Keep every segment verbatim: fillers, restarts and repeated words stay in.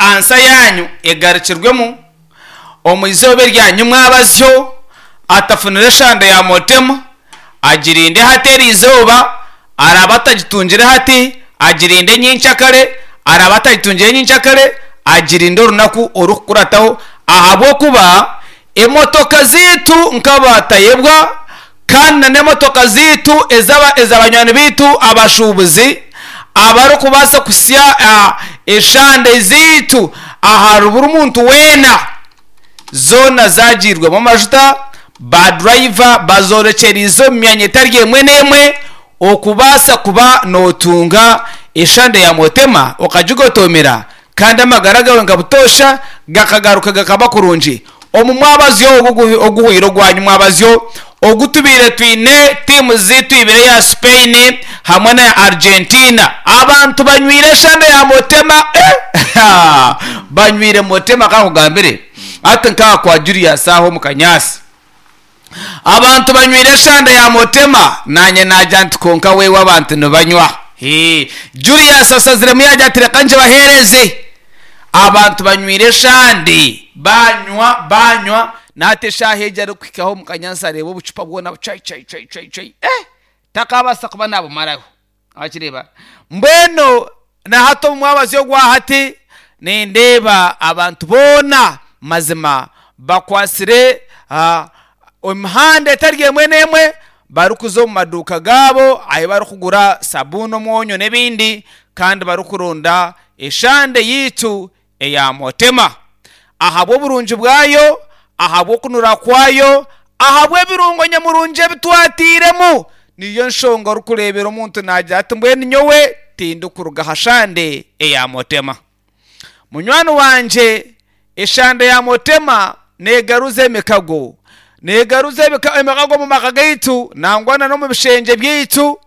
Ansa yanyu egarukirwemu omu izooba eryanyu mwabazyo atafunire eshande ya motema agirinde hati eri izooba, araba atagitungire hati agirinde nyenkyakare, araba atagitungire nyenkyakare agirinde orunaku orukukurataho, ahabw'okuba emotoka zaitu nk'abatayebwa kandi na n'emotoka zaitu ezaba ez'abanywani baitu abashuubuzi abarikubaasa kuhitsya eshande zaitu ahari buri muntu weena, zoona zagiirwemu amajuta, baadurayiva bazoorekyerize omu myanya etari emwe n'emwe okubaasa kuba nootunga eshande ya motema okagigotomera kandi amagara gaawe nka butoosha gakagaruka gakaba kurungi. Omu mwabazyo ogu oguhweire ogwanyu mwabazyo ogu tubaire twine tiimu zaitu ibiri eya Spain hamwe na Argentina, abantu banywire eshande ya motema, eh banywire motema kankugambire hati nkaha kwa Julius aho omu kanyaasi abantu banywire eshande ya motema, naanye naagira nti kwonka wewe abantu nibanywa. Hee Julius asaziremu yaagira ati reka ngibaheereze. Abantu banywire eshande banywa banywa, nahati eshaaha egi arikuhikaho omu kanyaasi areeba obucupa bwona chai chai chai chai chai, eh takabaasa kuba naabumaraho. Wakireeba? Mbwenu nahati omu mwabazyo ogwa hati nindeeba abantu boona mazima bakwatsire emihanda etari emwe n'emwe barikuza omu maduuka gaabo ahu barikugura sabuuni, omwonyo n'ebindi, kandi barikuronda eshande yaitu eya motema ahabw'oburungi bwayo, ahabw'okunura kwayo, ahabw'ebirungo nyamurungi ebi twatairemu. Niyo nshonga orikureebera omuntu naagira ati mbwenu nyowe tindikuruga aha shande eya motema. Munywani wangye, eshande ya motema neegaruza emikago, neegaruza emikago omu maka gaitu nangwa na n'omu bishengye byaitu,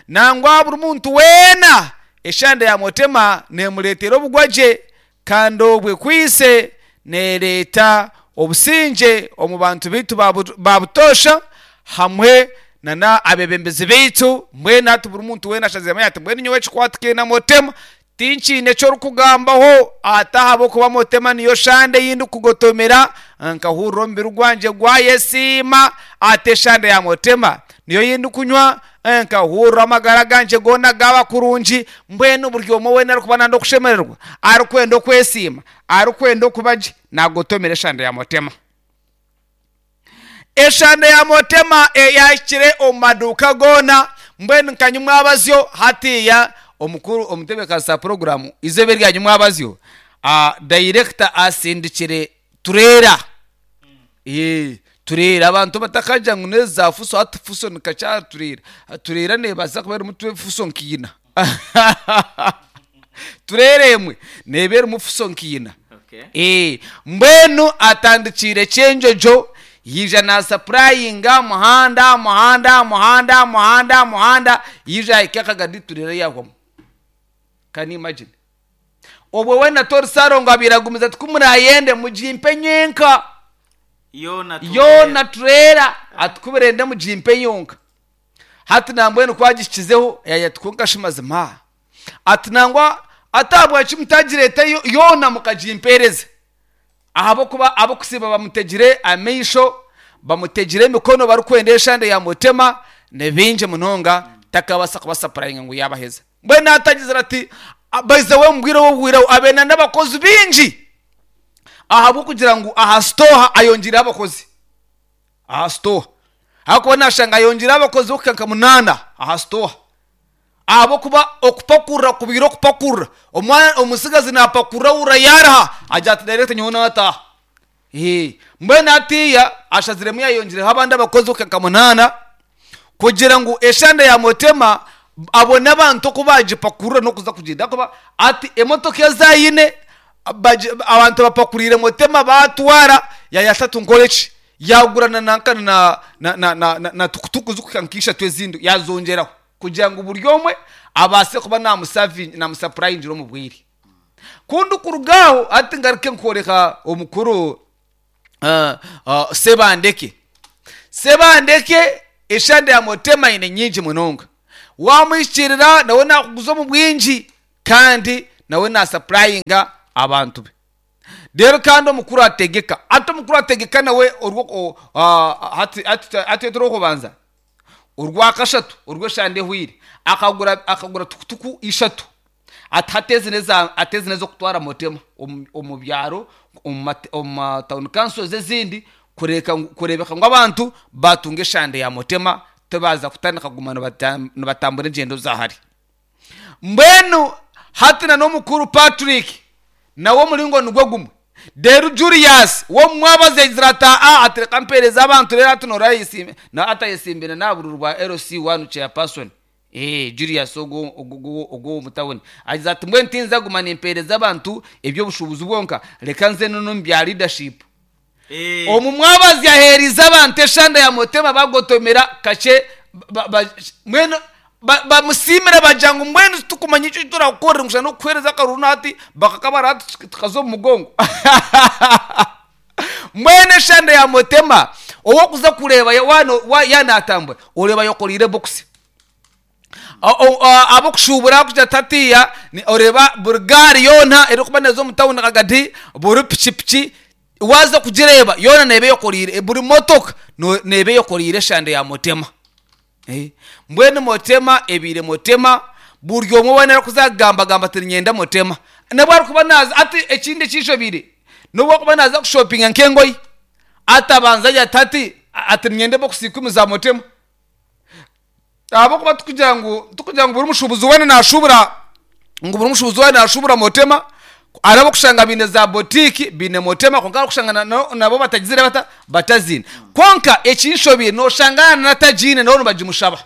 nangwa buri muntu weena eshande ya motema neemureetera obugwagye kandi obwo ekwaitse neereeta obusingye omu bantu baitu ba butoosha hamwe na n'abeebembezi baitu. Mbwenu hati buri muntu weena ashaziremu ati mbwenu nyowe ekikwatikaine na motema tinkiine eki orikugambaho ati ahabw'okuba motema niyo shande ei ndikugotomera nkahurira omubiri gwangye gwayesiima, ati eshande ya motema niyo ei ndikunywa nkahurira amagara gangye goona gaaba kurungi. Mbwenu buri omwe weena arikuba nayenda okushemererwa, arikwenda okwesiima, arikwenda okuba gye, naagotomera eshande ya motema. Eshande ya motema eyahikire omu maduuka goona, mbwenu nka nyumwabazyo hatiiya omukuru omutebeekanisa wa puroguraamu eizooba erya nyumwabazyo, dayirekita asindikire tureera, tureera abantu batakagira ngu n'ezi za fuso, hati fuso nikakye aha tureera, tureera neebaasa kuba erimu fuso nka ina, tureera emwe neeba erimu fuso nka ina. Mbwenu atandikiire Kyenjojo yaija naasapurayinga muhanda muhanda muhanda muhanda muhanda, yaija yahika Kagadi tureera yaahwamu. Can you imagine? Obwo we na Tori Ssalongo abaire agumize ati ku muraayende mugimpe nyenka. Yoona tureera ati ku murenda mugimpe yonka. Hati nambwenu ku agihikizeho yaagira ati kwonka shi mazima ati nangwa ati ahabwaki mutagireeta yoona mukagimpeereza? Ahabw'okuba ab'okusiiba bamutegire amaisho, bamutegire emikono barikwenda eshande ya mutema, ni bingi munonga takabaasa kubasapurayinga ngu yaabaheza. Mbwenu atagizire ati by the way omu bwire obu obuhwireho abaire n'abakozi baingi ahabw'okugira ngu aha sitooha ayongiireho abakozi. Aha sitooha ahabw'okuba naashanga ayongiireho abakozi b'okuhika nka munaana aha sitooha, ahabw'okuba okupakurura kubaire okupakurura, omutsigazi naapakurura ahurira yaaruha agira ati dayirekita nyowe naataaha. Mbwenu hatiiya ashaziremu yaayongiireho abandi abakozi b'okuhika nka munaana kugira ngu eshande ya mutema abone abantu oku baagipakurura n'okuza kugyenda ahakuba hati emotoka ezi aine abantu bapakuriire mutema baatwara yaagira ati nkore ki? Yaagura na nanka na na na na tukutuku zirikuhika nka ishatu ezindi yaazongyeraho kugira ngu buri omwe abaase kuba naamusapurayingira omu bwire. Ku ndikuruga aho hati ngaruke nkworeka omukuru Sebandeke. Sebandeke eshande ya mutema aine nyingi munonga. Waamuhikiirira nawe naakuguza omu bwingi kandi nawe naasapurayinga abantu be. Rero kandi omukuru ategeka, ati omukuru ategeka nawe orwo hati orwokubanza, orwakashatu orw'eshande ehwire akagura akagura tukutuku ishatu, ati hati ezi ati ezi n'ez'okutwara motema omu byaro, omu town councils ezindi, kureebeka ngu abantu batunga eshande ya motema, tibaza kutandika kuguma nibatambura engyendo za hare. Mbwenu hati na n'omukuru Patrick nawe omuringo nigwo gumwe. Reero Julius w'omumwabazi yagira ati aa, ati reka mpeereze abantu. Reero hati noora atayesimbire n'aha bururu bwa L C one chairperson. eh Julius ogwo ogwo omu tawuni agize ati mbwenu tinza guma nimpeereza abantu eby'obushuubuzi bwonka, reka nze n'omu bya leadership. Omu mwabazi yaheerize abantu eshanda ya motema, bagotomera kakye, mbwenu bamusiimire, bagira ngu mbwenu tukumanya icyo turakukorera ngu n'okukuheereza akaruru, nahati bakakabara hati tukaza omu mugongo. Mbwenu eshanda ya motema owokuza kureeba yanatambura, oreeba yokoreire bokisi, abokushuubura kugira tatiya, oreeba buri gaari yoona erikuba neeza omu tawuni rwagati, buri pikipiki waza kugireeba yoona neeba eyokoreire, buri motoka neeba eyokoreire eshande ya motema. Mbwenu motema ebiire motema, buri omwe weena arikuza kugambagamba ati niinyenda motema. Nobu arikuba naaza ati ekindi ekinshobeire, nobu arikuba naaza kushopinga nk'engoye, atabanza agira ati hati ati niinyenda ebokisi ikumi za motema, ahabw'okuba tukugira ngu tukugira ngu buri mushuubuzi weena naashuubura ngu buri mushuubuzi weena naashuubura motema. Hariho abokushanga baine za boutique baine motema, kwonka barikushanga nabo batagizire bata bataziine. Kwonka ekinshobeire, noshanga n'atagiine nabo nibagimushaba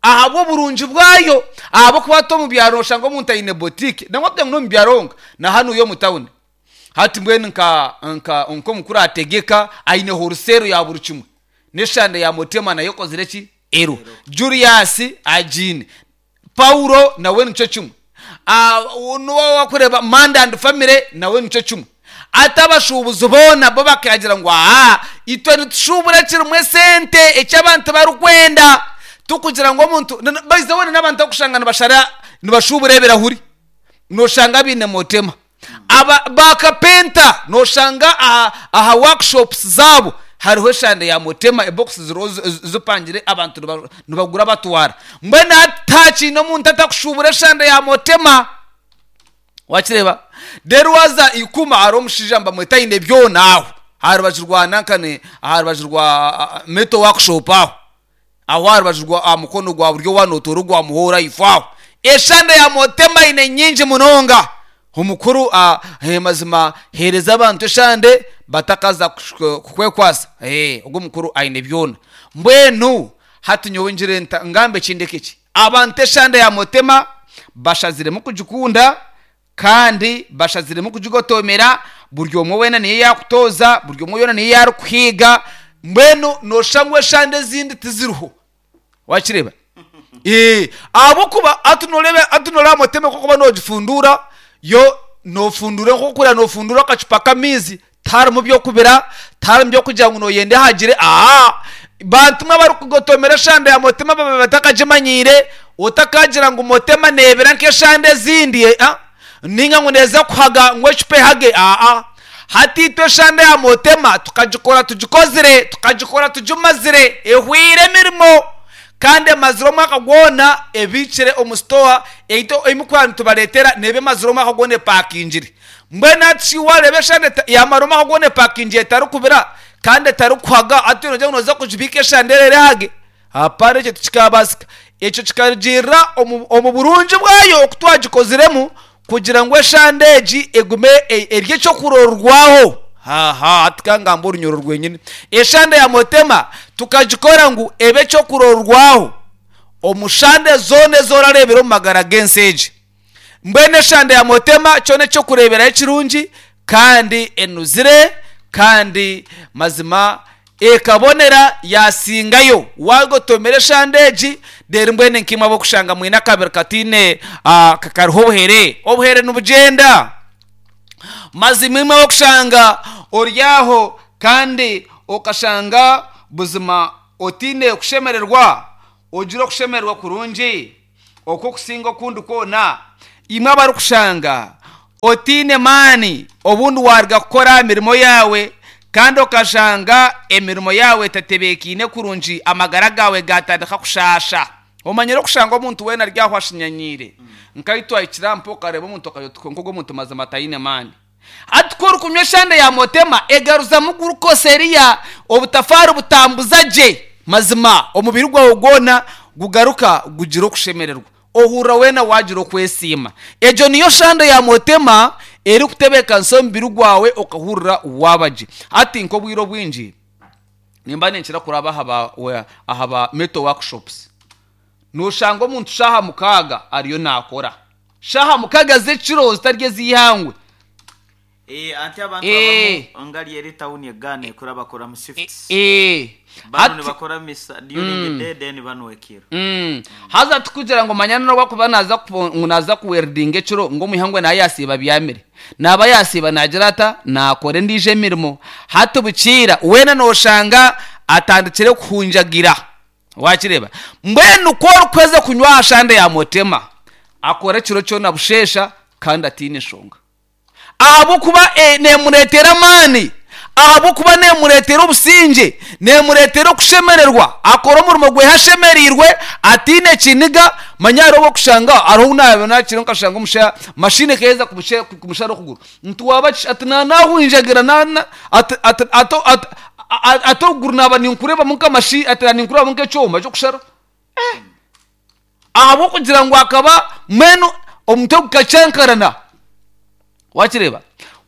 ahabw'oburungi bwayo, ahabw'okuba hati omu byaro noshanga omuntu aine boutique, nangwa kugira ngu n'omu byaro honka, na hanuya omu tawuni. Hati mbwenu nka nka nk'omukuru ategeka aine wholesale ya buri kimwe, n'eshande ya motema nayo ekozire ki ero. Julius agiine, Paulo nawe nikyo kimwe, nuwe wakureeba Manda and family nawe nikyo kimwe. Ati abashuubuzi boona bo bakagira ngu aa, itwe nitushuubura kirimu esente eki abantu barikwenda, tukugira ngu omuntu baize weena n'abantu abakushanga nibashara, nibashuubura ebirahuri, noshanga biine motema. Aba bakapenta noshanga aha aha workshops zaabo hariho eshande ya motema, ebokisi ziriho zipangire, abantu nibagura batwara. Mbwenu hati tihakiine omuntu atakushuubura eshande ya motema, wakireeba. Reero waza ikuma, hariho omushaija nibamweta aine byona aho aha rubaju rwa nankane, aha rubaju rwa metal workshop aho aho aha rubaju rwa aha mukono gwa buryo waaba nootoora ogwa muhoora ifo aho, eshande ya motema aine nyingi munonga. Omukuru mazima heereza abantu eshande batakaza kukwekwasa. Ogwo omukuru aine byona. Mbwenu hati nyowe ngire nta ngambe ekindi eki, abantu eshande ya motema bashaziremu kugikunda kandi bashaziremu kugigotomera. Buri omwe weena niyo yakutoza, buri omwe weena niyo yarikuhiga. Mbwenu noshusha ngu eshande ezindi tiziriho, wakireeba, ahabw'okuba hati noreeba hati noreeba motema ku orikuba noogifundura, yo noofundura nk'okurira noofundura akacupa k'amaizi, tiharimu by'okubira, tiharimu by'okugira ngu nooyenda ehagire. Aa, bantu mwe abarikugotomera eshande ya motema baba batakagimanyiire, otakagira ngu motema neebira nk'eshande ezindi ninga ngu neeza kuhaga ngu ecupa ehage. Aa, hati itwe eshande ya motema tukagikora tugikozire, tukagikora tugimazire, ehwire emirimo kandi emazire omwaka gwona ebiikire omu sitowa. Ei nitubareetera neeba emazire omwaka gwona epakingire. Mbwenu hati shi waareeba eshande yamara omwaka gwona epakingire, etarikubira kandi etarikuhaga, hati noogira ngu nooza kugibiika eshande reero ehage? Hapana, ekyo tikikabaasika. Ekyo kikarugiirira omu burungi bwayo oku twagikoziremu kugira ngu eshande egi egume eri ekyokurorwaho. Haha, hati kangamba orunyoro rwenyine, eshande ya motema tukagikora ngu ebe ekyokurorwaho omu shande zoona ezi orareebera omu magara g'ensi egi. Mbwenu eshande ya motema kyona ekyokureeberaho ekirungi kandi enuzire kandi mazima ekabonera yasingayo wagotomera eshande egi. Reero mbwenu nk'imwe ab'okushanga mwine akabiri kataine kariho obuhere, obuhere nibugyenda. Mazima imwe ab'okushanga ori aho kandi okashanga buzima otaine kushemererwa, ogira okushemererwa kurungi okw'okusinga okundi kwona, imwe abarikushanga Otiine maani, obundi waaruga kukora aha mirimo yaawe kandi okashanga emirimo yaawe etatebeekaine kurungi, amagara gaawe gaatandika kushaasha. Omanyire okushanga omuntu weena ari aho ashinyanyiire. Nka twahikire aha mpa okareeba omuntu okagira oti kwonka ogu omuntu mazima taine maani. Hati ku orikunywa eshande ya motema egaruzamu glucose eriya, obutafaari butambuza gye mazima omubiri gwawe gwona gugaruka gugira okushemererwa. Ohurira weena waagira okwesiima. Egyo niyo shande ya motema erikutebeekanisa omubiri gwawe okahurira waaba gye. Hati nk'obwire obwingi nimba ninkira kuraba aha ba aha ba metal workshops. Nooshanga omuntu shaaha mukaaga ariyo naakora. Shaaha mukaaga z'ekiro zitari ez'eihangwe. Eh, anti abantu Eh. abamu ngari eri town egaana ekura bakora mu shifts. Eh. Bano Hati- nibakora misa during the day, then bano ekiro. Mm. Haza tukugira ngu manya n'obwakuba naza kupo- ngu naza kuweldinga ekiro ngu omwihangwe naye yasiiba byamire, naaba yasiiba nagira ata nakora endiijo emirimo. Hati bukiira weena nooshanga atandikire kuhunjagira, wakireeba. Mbwenu ku orikuheza kunywa aha shande ya motema, akora ekiro kyona busheesha kandi atiine nshonga, ahabw'okuba eh, neemureetera amaani, ahabw'okuba neemureetera obusingye, neemureetera okushemererwa. Akora omurimo gwe ashemereirwe, atiine kiniga. Manya hariho okushanga hariho naaba nakira nkashanga omusha mashini ekaheza kumushe- kumushara okuguru, nti waaba ki? Ati nanahunjagira, nana ati ati ati ati ati okuguru naaba ninkureebamu nk'amashi, ati ninkureebamu nk'ekyoma ky'okushara, ahabw'okugira ngu akaba mbwenu omutwe gukacyankarana, wakireeba.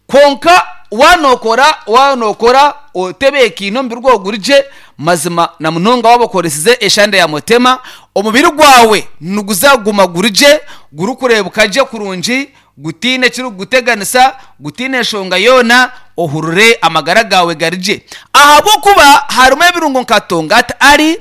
Kwonka waanokora waanokora otebeekaine, omubiri gwawe guri gye mazima, na munonga waaba okoresize eshande ya motema, omubiri gwawe niguzaguma guri gye, gurikureebeka gye kurungi, gutiine ekirikuguteganisa, gutiine enshonga yoona, ohurire amagara gaawe gari gye, ahabw'okuba harimu ebirungo nka tongati ari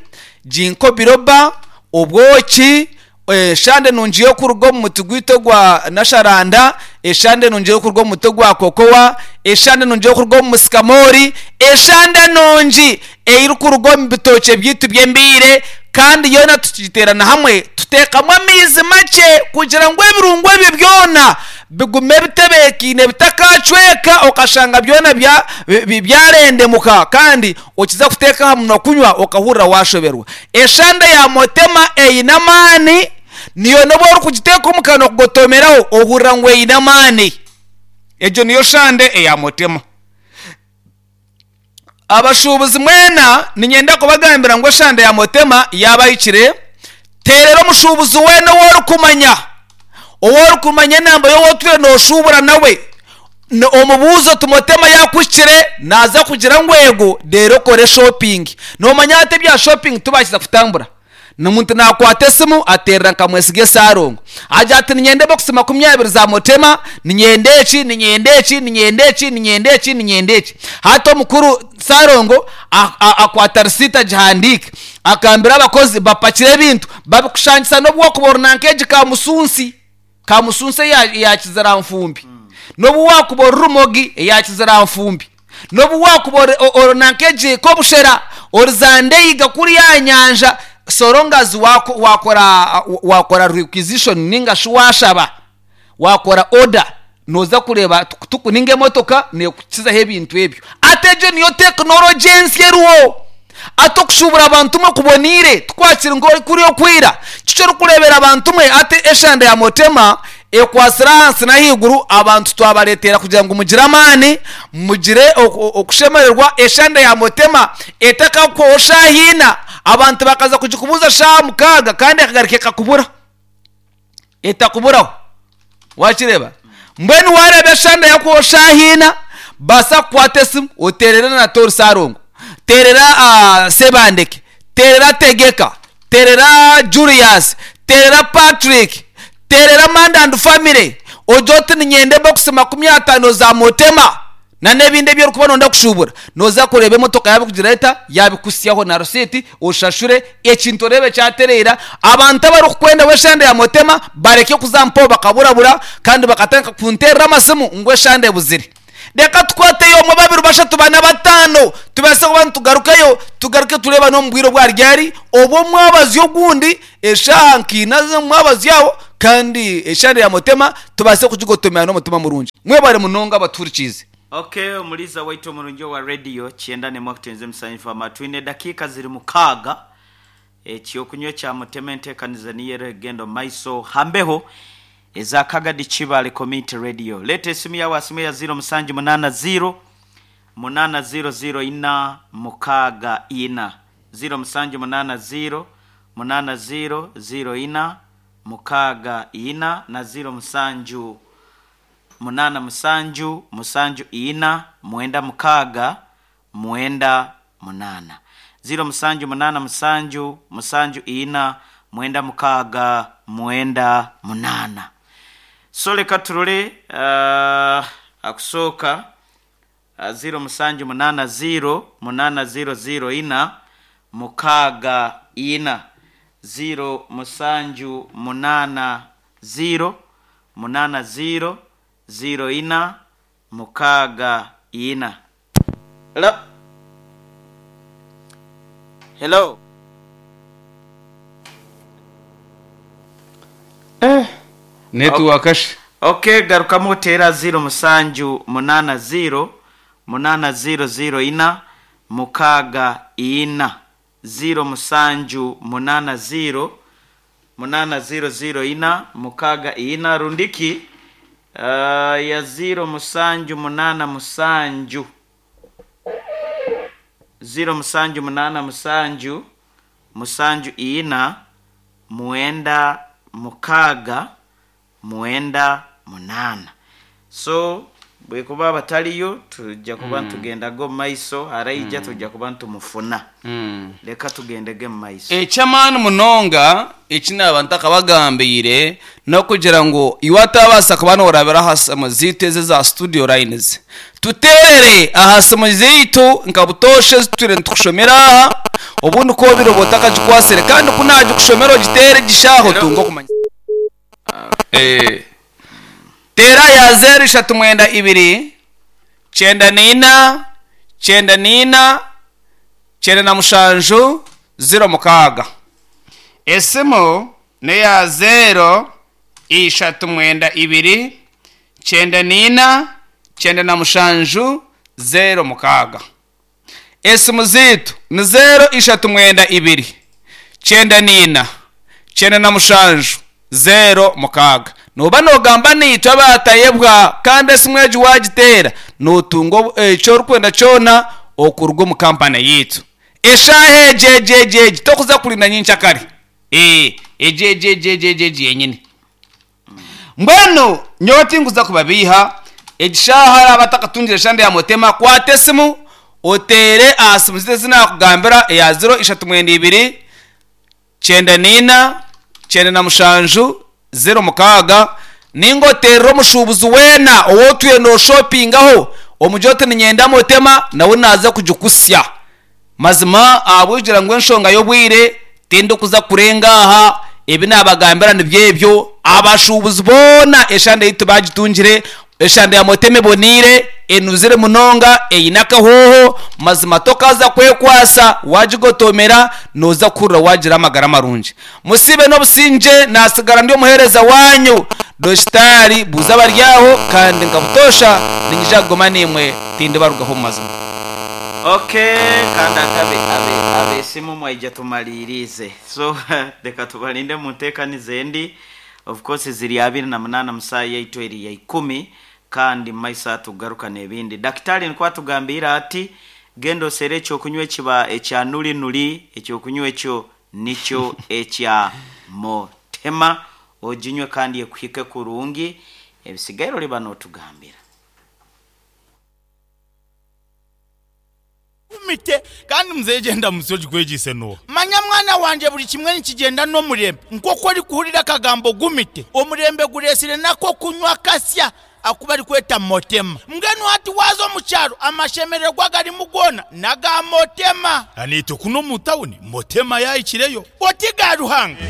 ginkgo biloba, obwoki, eshande nungi y'okuruga omu muti gwaitu ogwa nasharanda, eshande nungi y'okuruga omu muti ogwa kokowa, eshande nungi y'okuruga omu musikamori, eshande nungi erikuruga omu bitookye byaitu by'embiire. Kandi yoona tukigiteerana hamwe, tuteekamu amaizi makye kugira ngu ebirungo ebyo byona bigume bitebeekaine, bitakacweka, okashanga byona bya- bi- byarendemuka kandi okiza kuteeka aha munwa kunywa okahurira washoberwa. Eshande ya motema eine amaani, niyo nobu orikugiteeka omu kanwa kugotomeraho ohurira ngu eine amaani. Egyo niyo shande eya motema. Abashuubuzi mwena niinyenda kubagambira ngu eshande ya motema yaabahikire. Teerera omushuubuzi weena ou orikumanya, ou orikumanya enamba y'ou otwire nooshuubura nawe, omubuuze oti motema yaakuhikire, naaza kugira ngu ego, reero okore shopping. Noomanya hati ebya shopping tibakiza kutambura, omuntu naakwata esimu ateerera nka Mwesiga Esaarongo, agira ati niinyenda ebokisi makumi abiri za motema, niinyenda eki, niinyenda eki, niinyenda eki, niinyenda eki, niinyenda eki. Hati omukuru Saarongo akwata risiiti agihandiika, akambira abakozi bapakire ebintu babikushangisa, n'obu wakuba ori nanka egi kamusunsi, kamusunsi eya eya kiziranfumbi, n'obu wakuba ori rumogi eya kiziranfumbi, n'obu wakuba ori ori nanka egi kobushera, ori zandeiga kuriya aha nyanja, so long as wako- wakora wakora requisition ninga shi washaba, wakora order, noza kureeba tukutuku ninga emotoka neekukizaho ebintu ebyo. Ati egyo niyo tekinologi ensya eriho. Ati okushuubura abantu mwe kuboniire, tikwakiri nk'okuri okwira. Kiki orikureebera abantu mwe? Ati eshande ya motema ekwasire ahansi n'ahaiguru, abantu twabareetera kugira ngu mugire amaani, mugire oku- okushemererwa. Eshande ya motema etakakuhwaho shaaha ina, abantu bakaza kugikubuuza shaaha mukaaga kandi ekagaruka ekakubura, etakuburaho, wakireeba. Mbwenu waareeba eshande yakuhwaho shaaha ina, baasa kukwata esimu oteerere na Tori Saarongo, teerera uh, Sebandeke, teerera Tegeka, teerera Julius, teerera Patrick, teerera Manda and family, ogire oti niinyenda ebokisi makumi ataano za motema na n'ebindi ebi orikuba noyenda kushuubura. Nooza kureeba emotoka yaabikugira eta yaabikuhitsyaho na risiiti, oshashure ekintu oreebe kyatereera. Abantu abarikukwenda eshande ya motema bareke kuza mpaho bakaburabura kandi bakatandika kunteerera amasimu ngu eshande ebuzire. Reka tukwateyo omwe, babiri, bashatu, bana, bataano, tubaase kuba nitugarukayo, tugaruke tureeba n'omu bwire obwaryari obwo omwabazi ogundi eshaaha nkiina z'omwabazi aho, kandi eshande ya mutema tubaase kugigotomera n'omutima murungi. Mwebare munonga abaturikiize. Okay, omuliza waitu omurungi wa radio kyenda nemwe akutenze musanyifu twine dakiika ziri mukaaga. Ekyokunywa kya mutema enteekaniza niyo era egenda omu maiso hambeho eza Kagadi Kibale Community Radio. Leeta esimu yawe asimu ya zero musanju munaana zero munaana zero zero ina mukaaga ina, zero musanju munaana zero munaana zero zero ina mukaaga ina na zero musanju munaana musanju musanju ina mwenda mukaaga mwenda munaana, zero musanju munaana musanju musanju ina mwenda mukaaga mwenda munaana. So leka turole uh, akusooka uh, zero musanju munaana zero munaana zero zero ina mukaaga ina, zero musanju munaana zero munaana zero zero ina mukaaga ina. Hello, hello. Netiwaka shi? Okay, garukamu oteera zero musanju munaana zero munaana zero zero ina mukaaga ina, zero musanju munaana zero munaana zero zero ina mukaaga ina, rundiki uh, ya zero musanju munaana musanju, zero musanju munaana musanju musanju ina mwenda mukaaga mwenda munaana. So bwekuba bataliyo tujja kuba ntugendaga omu maiso, araija tujja kuba ntumufuna. Leka tugendege mu maiso. Ekyamaani munonga eki naaba ntakabagambiire n'okugira ngu iwe atabaasa kuba noorabira aha simu ziitu ezi za studio lines, tuteerere aha simu ziitu nka butoosha ezitwire nitukushomera aha. Obundi koobire oba otakagikwasire, kandi ku naagikushomera ogiteere gishaaho tunga okumanya. Eh. Teera ya zeero ishatu mwenda ibiri kyenda niina kyenda niina kyenda na mushanju ziro mukaaga. Esimu neya zeero ishatu mwenda ibiri kyenda niina kyenda na mushanju zero mukaaga. Esimu ziitu ni zeero ishatu mwenda ibiri kyenda niina kyenda na mushanju zero mukaaga. Noba nogamba niitwe abatayebwa, kandi esimu egi wagiteera notunga obu- ekyo orikwenda kyona okuruga omu kampani yiitu. Eshaaha egi egi egi egi tokuza kurinda nyenkyakare. Ee, egi egi egi egi egi egi yenyini. Mbwenu nyowe tinkuza kubabiiha. Egishaaha araba atakatungire eshande ya mutema, kwata esimu oteere aha simu zitu ezinakugambira, eya ziro ishatu mwenda ibiri kyenda niina kyenda na mushanju zero mukaaga, ninga oterera omushuubuzi weena owotwire noshopingaho omugye oti ninyenda mutema, nawe naza kugikusya. Mazima ahabw'okugira ngu enshonga y'obwire tindikuza kurenga aha, ebi nabagambira nibyo ebyo. Abashuubuzi boona eshande yitu bagitungire, eshande ya mutema eboniire, enuzire munonga, eine akahooho. Mazima tokaza kwekwasa, wagigotomera noza kuhurira wagira amagara marungi. Musibe n'obusinge. Nasigara ndi omuheereza wanyu Dositari buuza abaryaho, kandi nkabutosha ninyija kugoma nimwe, tindibarugaho mu mazima. Okay, kandi akabe abe abesimu mwaija tumalirize. So reka tubalinde mu nteekaniza endi. Of course ziri abiri na munaana musaa yaitu eri ya ikumi, kandi mumaiso atugaruka n'ebindi. Dakitari nikwo atugambira ati genda osere ekyokunywa ekiba ekya nuli nuli. Ekyokunywa ekyo nikyo ekya motema, oginywe kandi ekuhike kurungi. Ebisigaire oliba n'otugambira. Mite. Kandi muzeyi genda musi ogikwegise no. Manya mwana wanje, buli kimwe nikigenda n'omurembe. Nk'oku orikuhurira akagambo gumite, omurembe guresire nako kunywa kasya aku barikweta motema. Mbwenu hati waza omu kyaro, amashemererwa garimu goona naga motema. Aniitwe kuno mu tawuni motema yahikireyo. Oti ga Ruhanga.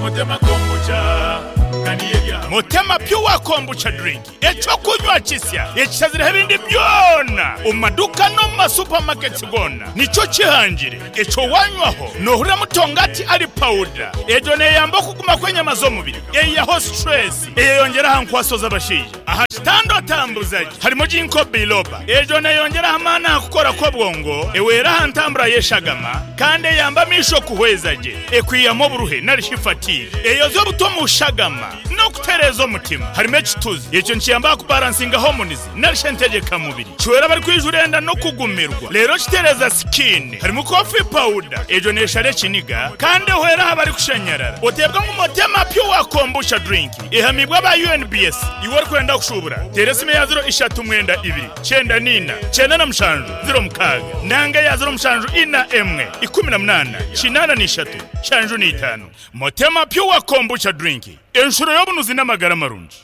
Motema kombucha kandi yebya. Motema Pure Kombucha drink, ekyokunywa kisya ekishazireho ebindi byona omu maduuka n'omu masupamaketi goona. Nikyo kihangire ekyo wanywaho noohurira mutongati ari pawuda. Egyo neeyamba okuguma kw'enyama z'omubiri, eihaho stress, eyeyongyera aha nkwaso z'abashaija. Aha kitanda otambuza gye harimu ginkgo biloba. Egyo neeyongyera aha maani aha kukora kw'obwongo, ehwera aha ntambura y'eshagama kandi eyamba amaisho kuhweza gye, ekwihamu oburuhe narishi fatigue, eyoza obuto omu shagama n'okutereeza omutima. Harimu ekituzi, ekyo nikiyamba aha kubalansinga hormones narishi entegyekamubiri. Kihwera abarikwijura enda n'okugumirwa, reero kitereeza skin. Harimu coffee powder, egyo neeshara ekiniga kandi ehwera aha barikushanyarara. Oteebwa ngu Motema Pure Kombucha drink ehamibwe aba U N B S. Iwe orikwenda kushubura, teera esimu eya ziro ishatu mwenda ibiri kyenda niina kyenda na mushanju ziro mukaaga nanga eya ziro mushanju ina emwe ikumi na munaana kinaana n'ishatu nshanju n'itaano. Motema Pure Kombucha drink, enshuro y'obunuzi n'amagara marungi.